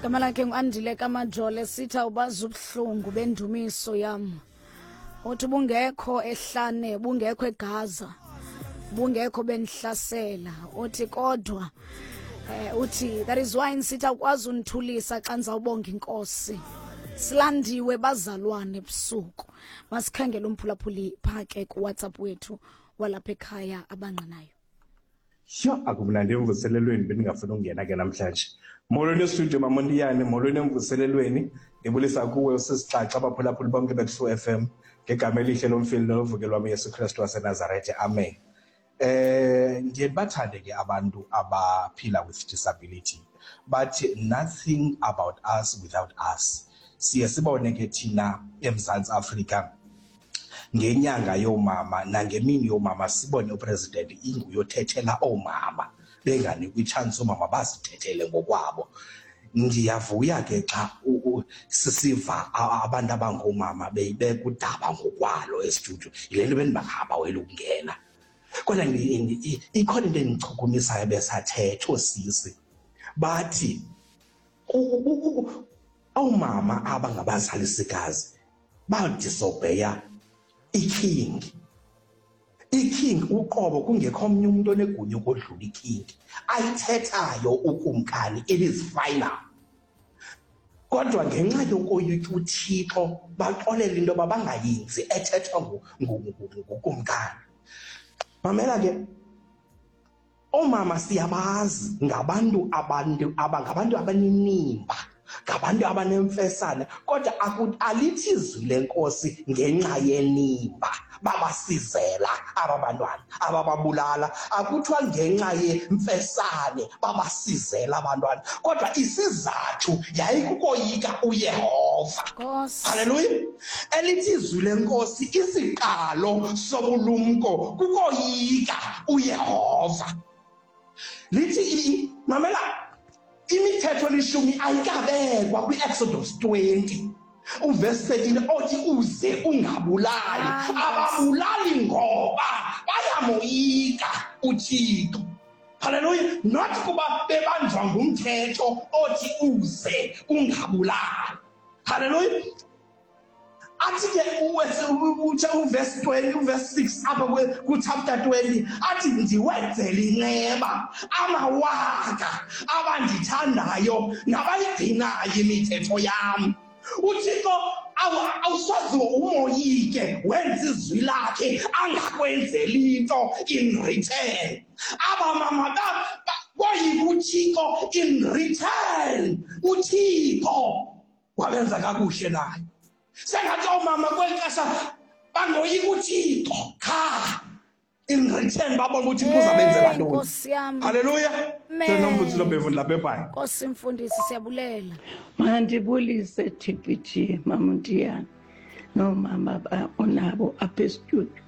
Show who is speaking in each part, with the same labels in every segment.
Speaker 1: Gama lakhe nguAndile kaMajole, sithi awubazi ubuhlungu bendumiso yam. Uthi bungekho ehlane, bungekho eGaza, bungekho benihlasela. Uthi kodwa uthi that is why nisithi awukwazi undithulisa xa ndizawubonga inkosi. Silandiwe bazalwane ebusuku. Masikhangele umphulaphuli pha ke kuWhatsApp wethu walapha ekhaya abangqinayo.
Speaker 2: Yho, akumnandi emvuselelweni, bendingafuni ukungena ke namhlanje. Molweni estudio, Mamontiyane, molweni emvuselelweni. Ndibulisa kuwe usisixaxa, abaphulaphuli bonke beTrue FM ngegama elihle lomfeli nolovuke lwam Yesu Kristu waseNazarethe. Amen. Ndiye ndibathande ke abantu abaphila with disability. Bathi nothing about us without us. Siye sibone ke thina eMzantsi Afrika ngenyanga yoomama nangemini yoomama, sibone upresident inguyothethela oomama, benganikwa itshansi oomama bazithethele ngokwabo. Ndiyavuya ke xa sisiva abantu abangoomama beyibeka udaba ngokwalo estudio. Yile nto bendibangabaweli ukungena. Kodwa ikhona into endichukumisayo besathetha oosisi. Bathi oomama abangabazalisikazi badisobheya iking. Iking uqobo, kungekho omnye umuntu onegunya ukodlula iking. Ayithethayo ukumkani, it is final. Kodwa ngenxa yokoyika uThixo baxolela into yoba bangayenzi ethethwa ngukumkani. Mamela ke, oomama siyabazi ngabantu abantu aba ngabantu abanenimba, ngabantu abanemfesane, kodwa alithi izwi lenkosi ngenxa yenimba babasizela aba bantwana abababulala. Akuthiwa ngenxa yemfesane babasizela abantwana, kodwa isizathu yayikukoyika uYehova.
Speaker 1: Nkosi.
Speaker 2: Haleluya. Elithi izwi lenkosi isiqalo sobulumko kukoyika uYehova. Lithi mamela, imithetho elishumi ayikabekwa kwi-Exodus 20 uverse 13 othi uze ungabulali. Ababulali ngoba bayamoyika uThixo. Haleluya. Not kuba bebanjwa ngumthetho othi uze ungabulali. Haleluya. Athi ke uverse 20, uverse 6 apha ku-chapter 20, athi ndiwenzele inceba amawaka abandithandayo nabayigcinayo imithetho yam. UThixo awusoze umoyike, wenza izwi lakhe angakwenzeli into in return. Aba mama boyika uThixo in return, uThixo wabenza kakuhle naye. Sengathi oomama kweli xesha bangoyika uThixo qha, in return babona ukuthi uThixo uzabenzela ntoni.
Speaker 1: Nkosi yam.
Speaker 2: Haleluya.
Speaker 1: Amen.
Speaker 2: Nomfundisi Lobhevu ndilapha eBhayi.
Speaker 1: Nkosi mfundisi, siyabulela.
Speaker 3: Mandibulise TPG, Mamuntiyana noomama onabo apha estudio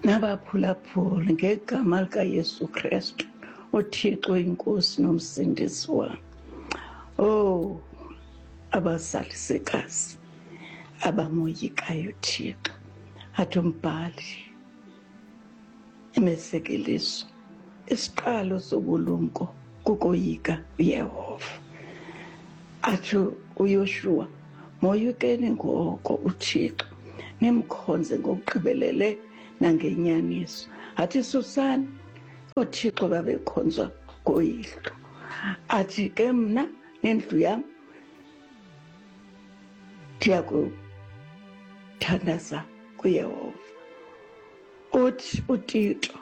Speaker 3: nabaphulaphuli ngegama likaYesu Kristu, uThixo inkosi nomsindisi wam. Oh, abazalisekazi abamoyikayo uThixo, athi umbhali imizekeliso, isiqalo sobulumko kukoyika uYehova. Athi uYoshuwa, moyikeni ngoko uThixo, nimkhonze ngokugqibelele nangenyaniso. Athi susani oothixo babekhonzwa ngoyihlo. Athi ke mna nendlu yam ndiyakuthandaza kuYehova. Uthi uTito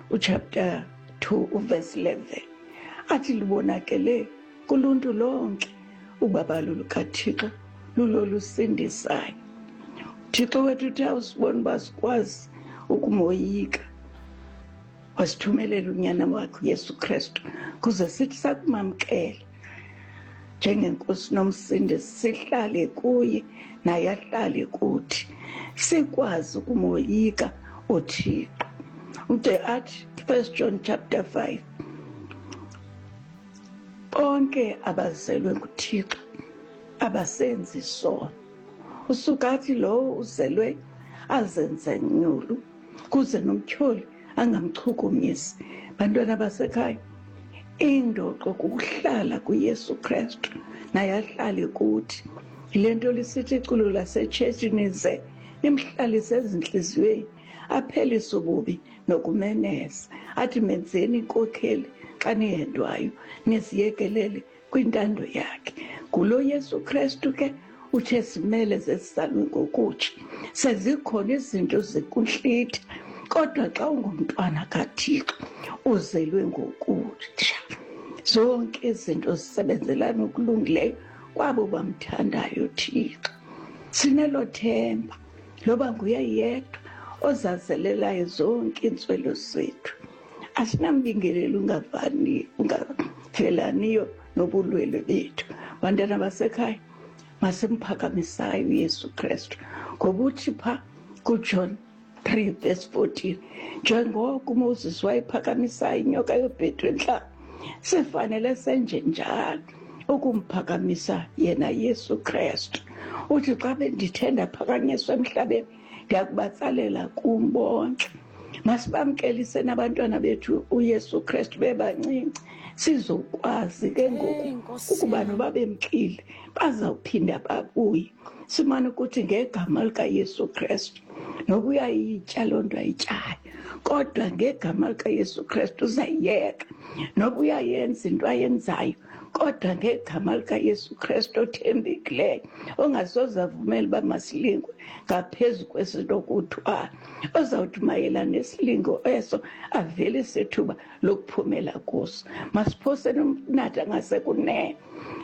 Speaker 3: uchapter 2 uverse 11, athi libonakele kuluntu lonke ubabalo lukaThixo lulolusindisayo. uThixo wethu uthi awusibona uba sikwazi ukumoyika, wasithumelela unyana wakhe uYesu Kristu kuze sithi sakumamkela njengenkosi nomsindisi, sihlale kuye naye ahlale kuthi, sikwazi ukumoyika uThixo. Ude athi 1 John chapter 5, bonke abazelwe nguThixo abasenzi isono. Usuka athi lowo uzelwe azenze nyulu kuze nomtyholi angamchukumisi. Bantwana basekhaya, Indoqo kukuhlala kuYesu Kristu naye ahlale kuthi. Yile nto lisithi iculo lasetshetshini ze nimhlalise ezintliziyweni, aphelise ububi nokumeneza. Athi menzeni inkokheli xa nihendwayo, niziyekelele kwintando yakhe. Ngulo Yesu Kristu ke uthe simele zesisalwe ngokutsha. Sezikhona izinto zikuntlitha, kodwa xa ungumntwana kaThixo uzelwe ngokutsha. Zonke izinto zisebenzelana okulungileyo kwabo bamthandayo Thixo. Sinelo themba loba nguye yedwa ozazelelayo zonke iintswelo zethu. Asinambingeleli ungavani ungavelaniyo nobulwelwe bethu. Bantwana basekhaya, masimphakamisayo uYesu Kristu ngoba uthi pha kuJohn 3 verse 14, njengoko uMoses wayephakamisayo inyoka yobhedu entlango, sifanele senje njalo ukumphakamisa yena Yesu Kristu. Uthi xa bendithe ndaphakanyiswa emhlabeni, ndiyakubatsalela kum bonke. Masibamkelise nabantwana bethu uYesu Kristu bebancinci, sizokwazi ke ngoku ukuba noba bemkile bazawuphinda babuye. Simane ukuthi ngegama likaYesu Kristu, noba uyayitya loo nto ayityayo, kodwa ngegama likaYesu Kristu uzayiyeka. Noba uyayenza into ayenzayo, kodwa ngegama likaYesu Kristu othembekileyo, ongasoze avumele uba masilingwe ngaphezu kwesinokuthwala, ozawuthi mayela nesilingo eso avelise ithuba lokuphumela kuso. Masiphoseni umnatha ngasekunene,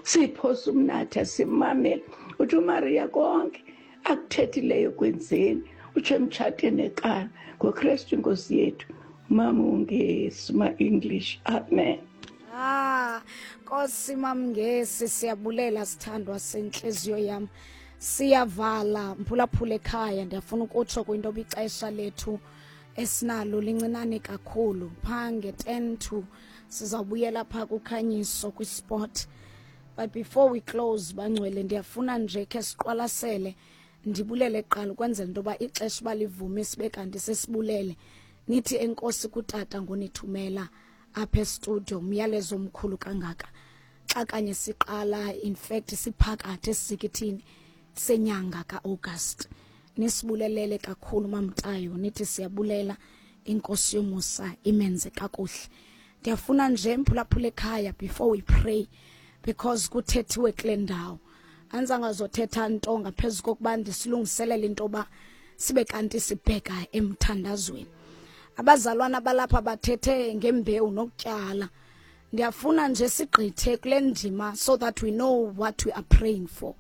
Speaker 3: siphose umnatha simamele. Uthi uMaria konke akuthethileyo kwenzeni, utsho emtshatweni eKana ngoKristu inkosi yethu. Mama uNgesi, ma-English, amen.
Speaker 1: Ah, Nkosi Mamngesi, siyabulela sithandwa sentliziyo yam. Siyavala mphulaphula ekhaya, ndiyafuna ukutsho kwinto yoba ixesha lethu esinalo lincinane kakhulu. Phaa nge-10 to sizawubuyela phaa kukhanyiso kwisport. But before we close, bangcwele, ndiyafuna nje khe siqwalasele, ndibulele kuqala ukwenzela into yoba ixesha uba livume sibe kanti sesibulele. Nithi enkosi kutata ngonithumela apha estudio, umyalezo omkhulu kangaka. Xa kanye siqala, in fact siphakathi esisikithini senyanga kaAugust. Nisibulelele kakhulu mamtayo, nithi siyabulela, inkosi yomusa imenze kakuhle. Ndiyafuna nje mphulaphula ekhaya before we pray, because kuthethiwe kule ndawo. Anzangazothetha nto ngaphezu kokuba ndisilungiselele into yoba sibe kanti sibheka emthandazweni. Abazalwana balapha bathethe ngembewu nokutyala. Ndiyafuna nje sigqithe kule ndima so that we know what we are praying for.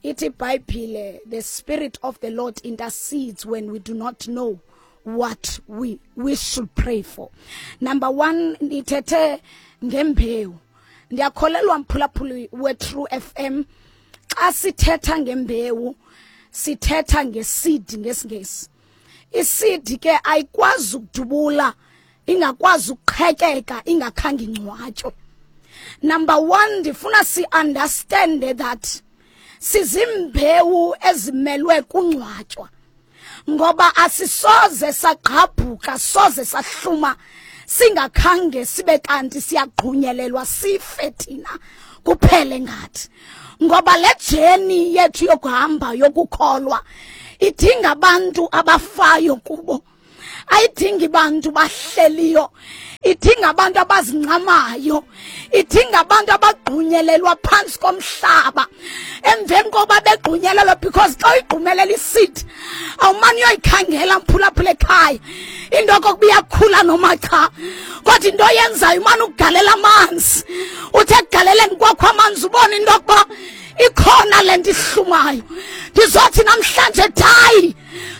Speaker 1: Ithi iBhayibhile, the Spirit of the Lord intercedes when we do not know what we should pray for. Number one, nithethe ngembewu. Ndiyakholelwa mphulaphuli we-True FM, xa sithetha ngembewu sithetha ngeseed ngesiNgesi. Iseed ke ayikwazi ukudubula, ingakwazi ukuqhekeka ingakhange ingcwatywe. Number one, ndifuna si-understand that sizimbewu ezimelwe kungcwatywa, ngoba asisoze sagqabhuka, soze sahluma singakhange sibe kanti siyagqunyelelwa sife thina kuphele ngathi. Ngoba le journey yethu yokuhamba yokukholwa idinga abantu abafayo kubo, ayidingi bantu bahleliyo, idinga abantu abazincamayo, idinga abantu abagqunyelelwa phantsi komhlaba. Emveni koba begqunyelelwa, because xa uyigqumelela iseed awumane uyoyikhangela mphulaphula ekhaya into okokuba iyakhula noma cha, kodwa into oyenzayo umane ukugalela amanzi. Uthe ekugaleleni kwakho amanzi ubone into yokuba ikhona le nto ihlumayo. Ndizothi namhlanje, die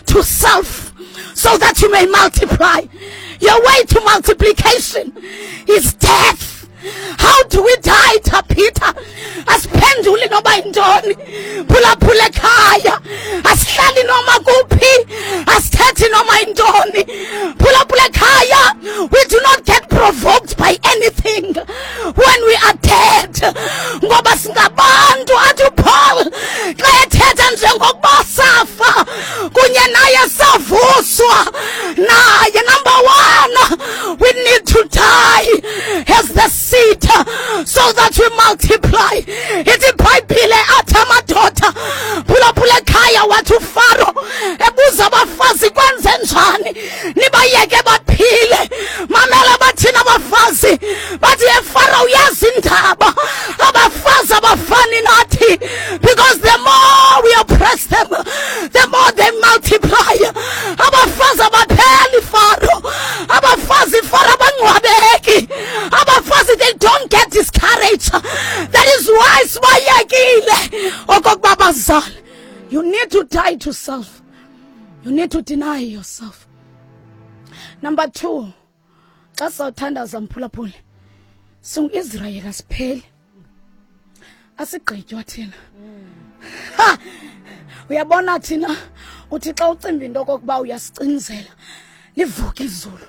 Speaker 1: to self so that you may multiply. Your way to multiplication is death. How do we die, Peter? Asiphenduli noba yintoni. Phulaphula ekhaya, asihlali noma kuphi, asithethi noma yintoni. Phulaphula ekhaya, we do not get provoked by anything when we are dead, ngoba singabantu. Athi uPaul xa ethetha, njengokuba safa kunye naye savuswa naye. Number one, we need to die as the the seed so that we multiply. Ithi iBhayibhile athi amadoda phulaphula ekhaya, wathi uFaro ebuza abafazi, kwenze njani nibayeke baphile? Mamela, bathina abafazi, bathi, "EFaro, uyazi indaba, abafazi abafani nathi, because the more we oppress them, the more they multiply. Abafazi abapheli, Faro. Abafazi, Faro, abangcwabeki. Abafazi, they don't get discouraged. That is why sibayekile okokuba bazale." You need to die to self. You need to deny yourself. Number 2, xa sawuthandaza, mphulaphuli, singuIsrayeli, asipheli, asigqitywa thina. Ha, uyabona thina, uthi xa ucimba into okokuba uyasicinzela, livuke izulu,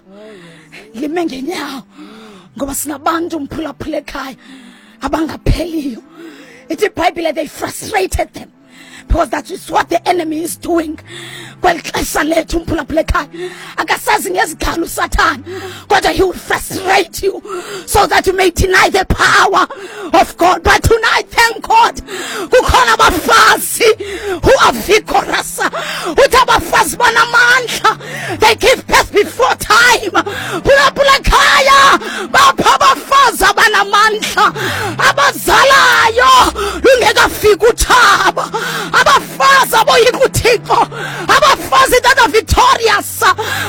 Speaker 1: lime ngenyawo, ngoba sinabantu, mphulaphula ekhaya, abangapheliyo. Ithi iBhayibhile they frustrated them, because that is what the enemy is doing kweli xesha lethu, mphulaphula ekhaya. Akasazi ngezigalo uSathana, kodwa he will frustrate you so that you may deny the power of God. But tonight, thank God, kukhona abafazi who are vigorous. Uthi abafazi banamandla, they give birth before time. Phulaphula ekhaya, bapha abafazi abanamandla, abazalayo lungekafiki utshaba, abafazi aboyika uThixo, abafazi that are victorious,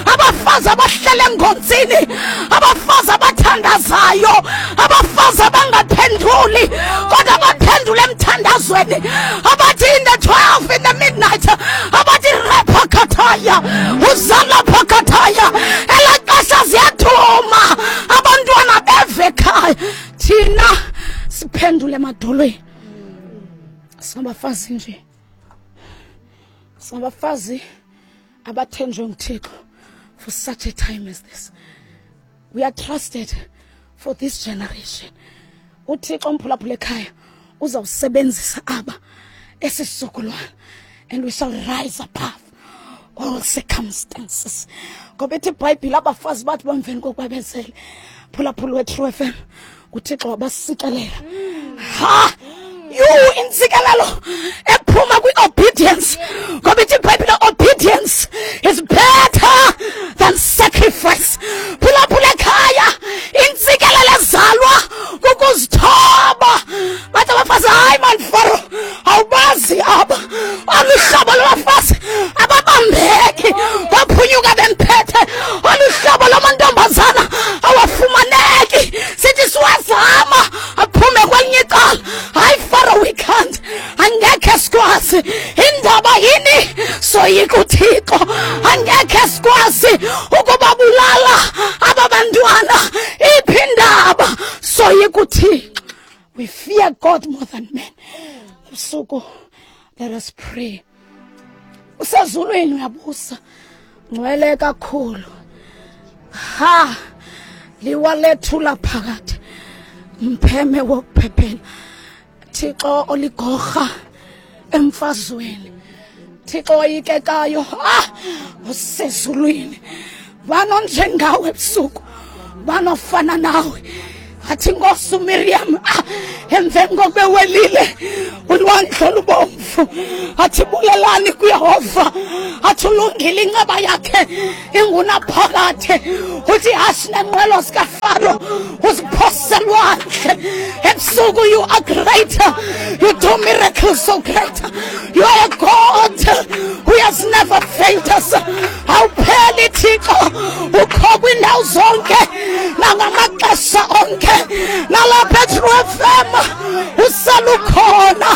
Speaker 1: abafazi abahlele engonzini, abafazi abathandazayo, abafazi abangaphenduli kodwa baphendule emthandazweni, abathi in the 12, in the midnight, abathi rephakhathaya uzala phakhathaya, elaa xesha ziyaduma, abantwana beve ekhaya. Thina siphendule emadolweni. Singabafazi nje, singabafazi abathenjwe nguThixo for such a time as this. We are trusted for this generation. UThixo, mphulaphula ekhaya, uzawusebenzisa aba esisizukulwana, and we shall rise above all circumstances, ngoba ithi iBhayibhile abafazi bathi bamveni kokuba bezele, phulaphula weTrue FM, uThixo wabasikelela. Ha, you, intsikelelo ephuma kwi-obedience, ngoba ithi iBhayibhile obedience is better than sacrifice. Phulaphula ekhaya, intsikelelo ezalwa kukuzithoba. Bathi abafazi, "Hayi mani, Faro, awubazi aba, olu hlobo lwabafazi ababambeki, baphunyuka bemphethe. Olu hlobo lwamantombazana awafumaneki. Sithi siwazama, aphume kwelinye icala. Hayi, Faro, we can't, angekhe sikwazi. Indaba yini? Soyika uThixo. Angekhe sikwazi ukubabulala aba bantwana. Iphi indaba? Soyika uThixo." We fear God more than men. Ebusuku, let us pray. Usezulwini, uyabusa, ngcwele kakhulu. Ha, liwa lethu laphakade, mpheme wokuphephela, Thixo oligorha emfazweni, Thixo oyikekayo, ah, usezulwini. Banonjengawe ebusuku, banofana nawe? Athi Nkosi uMiriam, ah, emveni kokubewelile ulwandle olubomvu, athi, "Bulelani kuYehova," athi, "ulungile, inceba yakhe ingunaphakade." Uthi hashi nenqwelo zikaFaro uziphose lwandle. Ebusuku, you are great. You do miracles so great. You are a God who has never failed us. Awupheli, Thixo, ukho kwindawo zonke nangamaxesha onke. Nalapha eTrue FM uselukhona,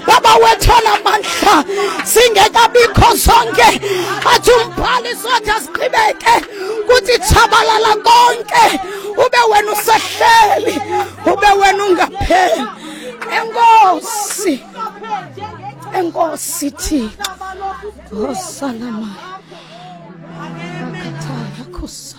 Speaker 1: Baba wethu onamandla. Singekabikho sonke, athi umbhali sothi asiqhibeke kuthi tshabalala konke, ube wena usehleli, ube wena ungapheli. Enkosi, enkosi, Thixo osalamaya akhathaya khusa.